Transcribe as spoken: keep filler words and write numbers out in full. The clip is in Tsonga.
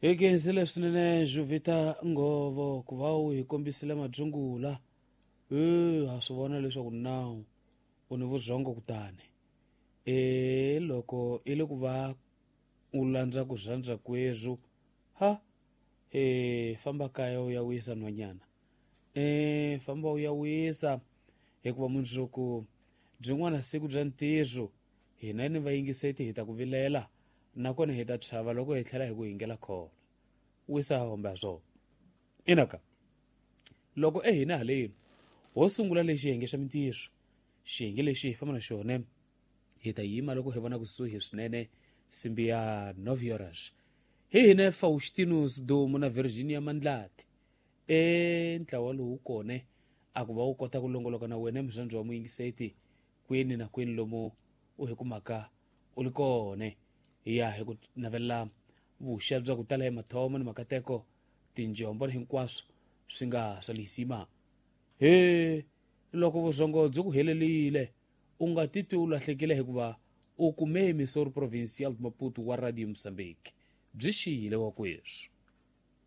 Hi khensile swinene Juvita Nghovo ku va u hi kombisile madzungula. E ha swi vona leswaku nawu u ni vurhongo kutani e loko i le ku va u landza ku rhandza kwezwo ha e famba kaya u ya wisa nhwanyana. E famba u ya wisa hikuva mundzuku byin'wana siku bya ntirho hina ni vayingiseti hi ta ku vilela nakona hi ta chava loko hi tlhela hi ku hingela khona. Wisa hombe ha swona. Inaka loko e hina haleni ho sungula lexi xiyenge xa mintirho, xiyenge lexi hi famba na xona hi ta yima loko hi vona kusuhi swinene simbi ya nove horas. Hi hina Faustinus Dumo na Virginia Mandlati e ntlawa lowu kone a ku va wu kota ku longoloka na wena murhandzi wa muyingiseti kwini na kwini lomu u hi kumaka u li kone. Hi ya hi ku navelela vuxa bya ku tala hi mathomo ni makateko tinjombo ni hinkwaswo swi nga swa lisima. He loko vurhongo byi ku helelile u nga titwi u lahlekile hikuva u kume emissor provincial de Maputo wa Radio Mozambique byi xiyile wa kweswo.